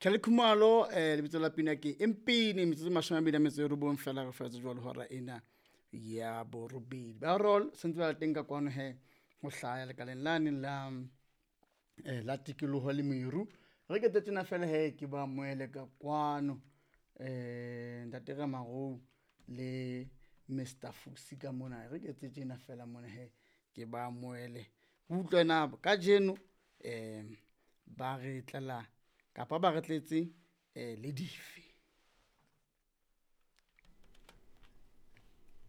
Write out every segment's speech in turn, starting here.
Kelly Khumalo lebitso la pina ke Empini metsotso 29 fela re fetse jwalo hora ena ya borobedi. Ba roll sentse ba le teng ka kwano he ho hlaya lekaleng lane la la tikoloho le meru. Re ke tjena fela he ke ba moele ka kwano ntate Ramarou le Mr Fusi ka mona. Re ke etse tjena fela mona he ke ba moele. Utlwe na kajeno ba re tlela kapa ba re tletse le dife.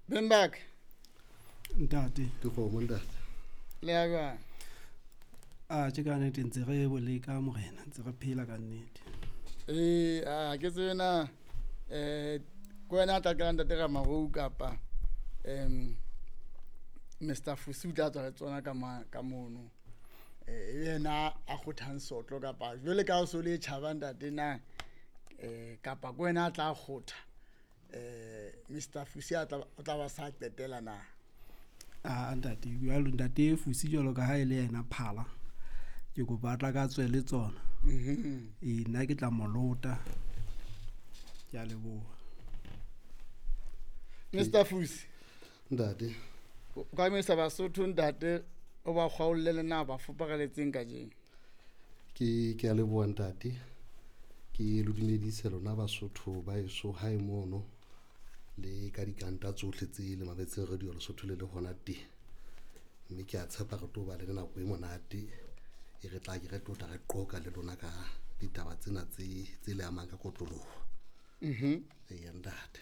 Beng ba ka. Ntate. Dikgomo ntate. Le ya jwang? A tje ka nnete ntse re boleka morena, ntse re phela ka nnete. A ke tsebe na ke wena a tla qala ntate Ramarou kapa Mr Fusi o tla tswa le tsona ka mono. Yena a kgothang sotlo kapa jwale ka o so le tjhaba ntate na kapa ke wena a tla kgotha Mr Fusi o tla ba sa qetela na? A ntate jwalo ntate Fusi jwalo ka ha e le yena phala. Ke kopa a tla ka tswe le tsona. Nna ke tla molota. Ke a leboha. Mr Fusi. Ntate. O ka mesa Basotho ntate o ba kgwaolle le na ba fopareletseng kajeno. Ke a leboha ntate. Ke lo dumedise lona Basotho ba eso hae mono le ka dikanta tsohle tse le mametseng radio Lesotho le le hona teng. Mme ke a tshepa re tlo ba le nako e monate e re tla ke re tlotla re qoka le lona ka ditaba tsena tse le amang ka kotloloho. Eya ntate.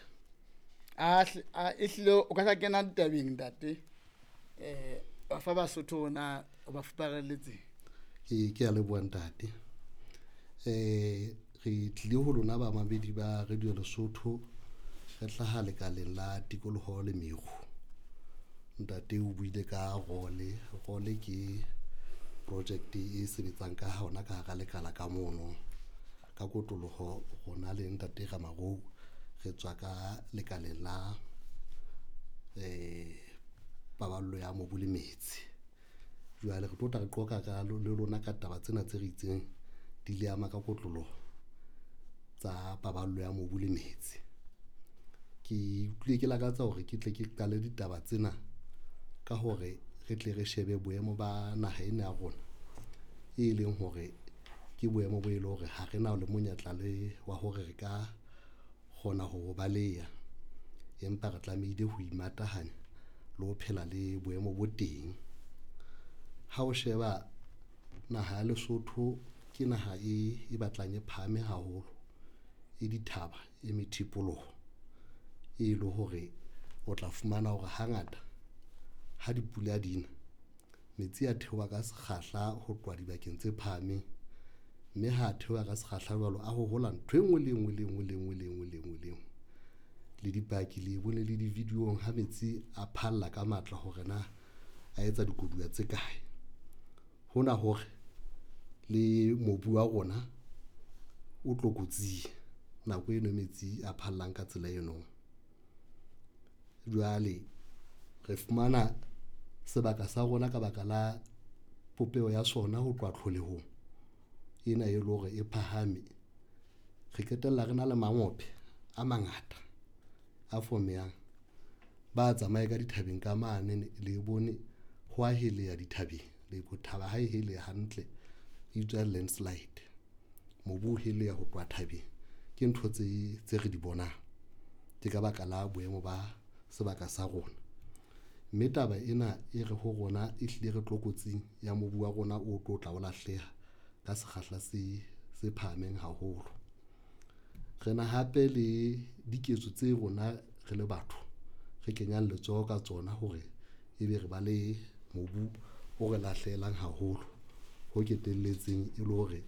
A ehlile o ka sa kena ditabeng ntate. Ba fa Basotho na o ba fupareletse. Ke a leboha ntate. Re tlile ho lona ba mamedi ba Radio Lesotho re hlaha lekaleng la tikoloho le meru. Ntate o buile ka role. Role ke project e sebetsang ka hona ka hara lekala ka mono. Ka kotloloho rona le ntate Ramarou re tswa ka lekaleng la paballo ya mobu le metsi. Jwale re tlo tla re qoka ka le lona ka taba tsena tse re itseng di le ama ka kotloloho tsa paballo ya mobu le metsi. Ke utlwile ke lakatsa hore ke tle ke qale ditaba tsena ka hore re tle re shebe boemo ba naha ena ya rona, e leng hore ke boemo bo e leng hore ha re na le monyetla le wa hore re ka kgona ho baleha, empa re tlamehile ho imatahanya le ho phela le boemo bo teng. Ha o sheba naha ya Lesotho ke naha e batlang e phahame haholo, e dithaba, e methipoloho, e le hore o tla fumana hore hangata ha dipula dina metsi a theoha ka sekgahla ho tloha dibakeng tse phahameng, mme ha theoha ka sekgahla jwalo a hohola ntho e nngwe le nngwe le nngwe le nngwe le nngwe le nngwe le nngwe. Le dipaki le bone le di-video-ong ha metsi a phalla ka matla hore na a etsa dikoduwa tse kae. Hona hore le mobu wa rona o tlokotsing nako eno metsi a phallang ka tsela eno. Jwale re fumana sebaka sa rona ka baka la popeho ya sona ho tloha tlholehong ena e le hore e phahame, re qetella re na le mangope a mangata a fomehang. Ba tsamaye ka dithabeng ka mane le bone ho a heleha dithabeng, le thaba ha e heleha hantle e bitswa landslide. Mobu o heleha ho tloha thabeng, ke ntho tse re di bonang, ke ka baka la boemo ba sebaka sa rona. Mme taba ena e re ho rona e hlile re tlokotsing ya mobu wa rona o tlo tla o lahleha ka sekgahla se phahameng haholo. Re na hape le diketso tse rona re le batho re kenyang letsoho ka tsona hore ebe re ba le mobu o re lahlehelang haholo, ho ketelletseng e le hore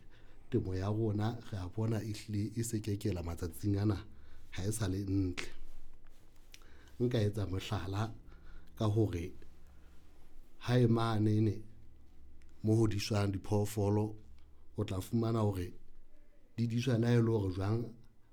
temo ya rona re a bona e hlile e se kekela matsatsing ana, ha e sa le ntle. Nka etsa mohlala ka hore hae mane mo ho diswang diphoofolo, o tla fumana hore di diswa le ha e le hore jwang